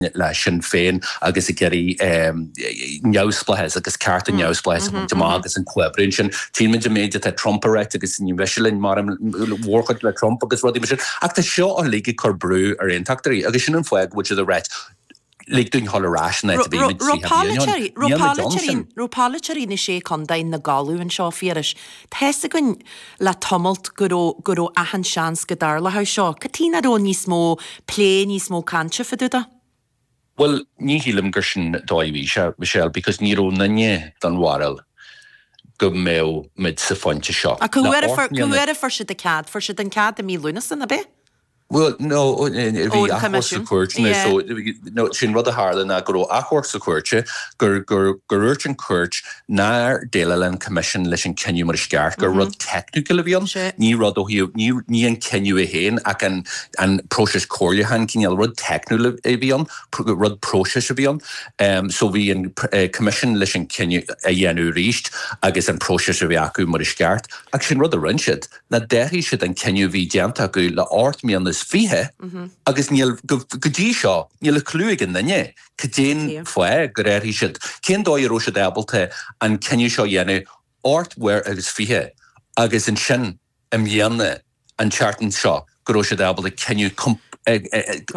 Le Sinn Féin agus ag iarraidh neamhspleáchas agus cearta neamhspleáchas a bhaint amach agus an comhoibriú ansin. Tchíonn muid an méid atá Trump a ráit agus ní miste linn mar an mhórchuid le Trump agus rudaí mar sin. Ach tá seo uilig ag cur brú ar aontachtóirí agus sin an fáth go bhfuil siad ag ráit lig dúinn dhul ar ais an áit a bhí muid 30 bliain ó shin. Níl muid ann sin. Raibh polaiteoirí na Sé Chontae ina gcodladh anseo, a Phiarais. Tá's againn le tamalt go raibh, go raibh achan seans go dtarlódh seo. Cad chuige nach raibh níos mó plé, níos mó cainte fá dtaobh de? Bhuel, ní shílim gur sin dóigh a bhí sé, Michelle, because ní raibh aon duine den bharúil go mbeadh muid sa phointe seo. Ach cá huair a fuair, cá huair a fuair siad an cead? Fuair siad an cead i mí Lúnasa, ná b'é? Bhuel, no, bhí achomharc sa chúirt, so, no, sin rud a tharla ná go raibh achomharc sa chúirt, gur, gur, gur dhúirt an chúirt nár dhéileáil an Coimisiún leis an cinneadh mar is ceart, gur rud teicniúil a bhí ann, ní rud ó thaobh, ní, ní an cinneadh é féin ach an, an próiseas comhairliúcháin, cineál rud teicniúil a bhí ann, rud próisis a bhí ann. So bhí an Coimisiún leis an cinneadh a dhéanamh arís agus an próiseas a bheith acu mar is ceart, ach sin rud a rinne siad. ná d'athraigh siad an cinneadh a bhí déanta acu le 28 mbliana agus níl, go dtí seo, níl a clue ag aon duine cad é an fáth gur athraigh siad, cén dóigh a raibh siad ábalta an cinneadh seo a dhéanamh 28 uair agus ansin i mbliana, an tseachtain seo, go raibh siad ábalta cinneadh go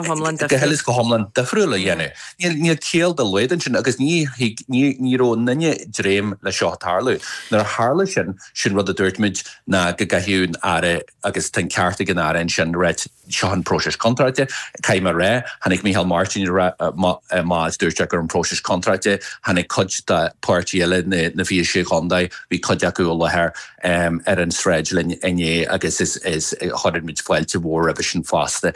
huile is go hiomlán difriúil a dhéanamh. Níl ciall dá laghad ansin agus ní thig, ní raibh aon duine ag dréim le seo tarlú. Nuair a tharla sin, sin rud a dúirt muid ná go gcaithfeadh an Aire, agus tá an ceart ag an Aire ansin, ráit seo an próiseas contráilte. Caithfidh mé a rá, tháinig Micheál Martin amach is dúirt sé go raibh an próiseas contráilte, tháinig cuid de páirtí eile na 26 chontae, bhí cuid acu i láthair ar an sráid linn inné agus is chuir muid fáilte mhór roimhe sin fosta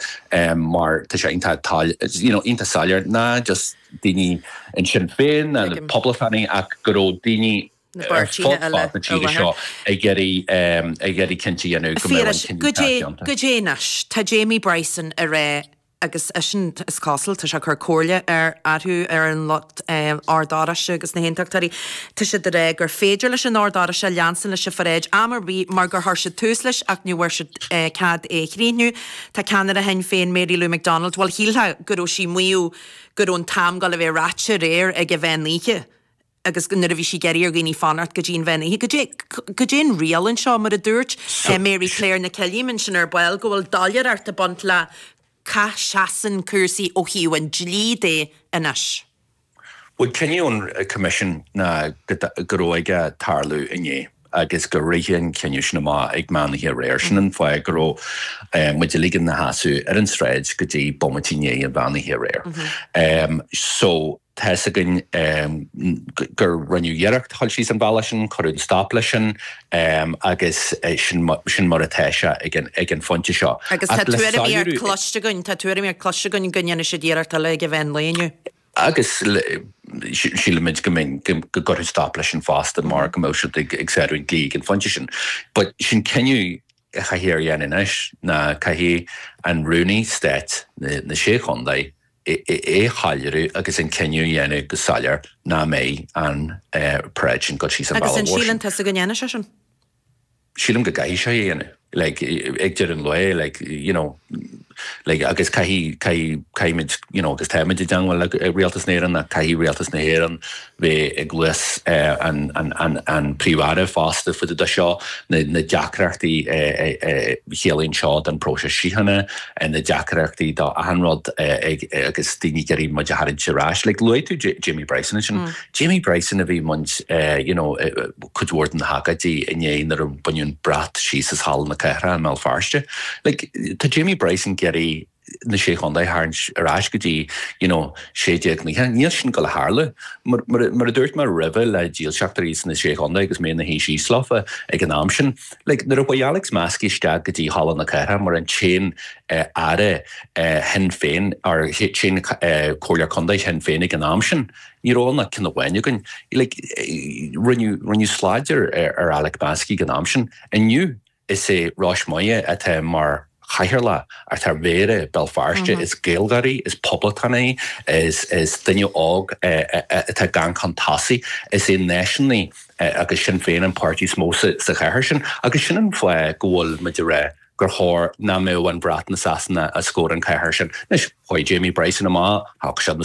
mar tá sé iontach you know iontach soiléir ná just daoine in Sinn Féin ná na poblachtánaigh ach go raibh daoine ar fud fad na tíre seo ag iarraidh ag iarraidh cinnte a dhéanamh go mbeadh an cinneadh ceart déanta. Goidé anois? Tá Jamie Bryson ag rá agus eisean, is cosúil, tá sé ag cur comhairle ar orthu, ar an lucht Ord Oráiste agus na hAontachtóirí, tá siad ag rá gur féidir leis an Ord Oráiste leanstan leis an pharáid am ar bith mar gur chuir siad tús leis ach ní bhfuair siad cead é a chríochnú. Tá ceannaire Shinn Féin, Mary Lou McDonald, bhuel shílfeá go raibh sí ag maíomh go raibh an t-am ag gabháil a bheith ráite aréir ag an mheán oíche. agus nuair a bhí sí ag iarraidh ar dhaoine fanacht go dtí an mheán oíche. Goidé, goidé an riail anseo, mar a dúirt Mary Claire Nic Uilliam ansin ar ball, go bhfuil doiléireacht ag baint le cá seasann cúrsaí ó thaobh an dlí de anois. Bhuel, cinneadh an Coimisiún ná go raibh aige tarlú inné agus gur ritheadh an cinneadh sin amach ag meán oíche aréir. Sin an fáth go raibh muid uilig ina sheasamh ar an tsráid go dtí bomaite i ndiaidh an mheán oíche aréir. So. Tá's againn gur rinneadh iarracht a dhul síos an bealach sin, cuireadh stop leis sin agus sin mar atá sé ag an phointe seo. Agus tá tuairimíocht cloiste againn, tá tuairimíocht cloiste againn go ndéanfaidh siad iarracht eile ag an mheán lae inniu. Agus sílimid go mbeidh, go gcuirfear stop leis sin fosta mar go mbeadh siad ag sárú an dlí ag an phointe sin. But sin cinneadh a chaithfear a dhéanamh anois ná caithfidh an Rúnaí Stáit na Sé Chontae é a shoiléiriú agus an cinneadh a dhéanamh go soiléir nach mbeidh an paráid sin ag dul síos an bealach mhór sin. Agus an síleann tusa go ndéanfaidh sé sin? Sílim go gcaithfidh sé é a dhéanamh. Like, ag deireadh an lae, like, you know, like, agus caithfidh, caithfidh, caithfimid, you know, agus táimid i dteangmháil le Rialtas na hÉireann ach caithfidh Rialtas na hÉireann bheith i gcluas an, an, an, an Príomh-Aire fosta fá dtaobh de seo, na, na deacrachtaí a chiallaíonn seo don próiseas síochána. na deacrachtaí do achan rud agus daoine ag iarraidh muid a tharraingt ar ais. Like luaigh tú Jamie Bryson ansin. Jamie Bryson a bhí ag baint you know cuid mhór de na hagóidí inné nuair a baineadh an brat síos as Halla na Cathrach i mBéal Feirste. Like tá Jamie Bryson ag iarraidh na Sé Chontae a tharraingt ar ais go dtí you know 1690. Níl sin ag gabháil a tharlú. Mar mar a dúirt mé roimhe le dílseachtóirí sna Sé Chontae agus mé ina shuí síos leofa ag an am sin, Like, nuair a chuaigh Alex Maskey isteach go dtí Halla na Cathrach mar an t-aon aire Shinn Féin, or t-aon comhairleoir contae Shinn Féin ag an am sin, ní raibh ann ach ceann amháin againn. Like, rinneadh, rinneadh slad ar, ar Alex Maskey ag an am sin. Inniu, is é Rois Moya atá mar chathaoirleach atá ar mhéara Béal Feirste, is Gaeilgeoir í, is poblachtánach í, is, is duine óg atá ag amharc chun tosaigh, is é náisiúnaí agus Sinn Féin an páirtí is mó sa chathair sin agus sin an fáth go bhfuil muid ag rá. gur chóir nach mbeadh an brat na Sasana os comhair an chathair sin. Anois, chuaigh Jamie Bryson amach, thóg siad na.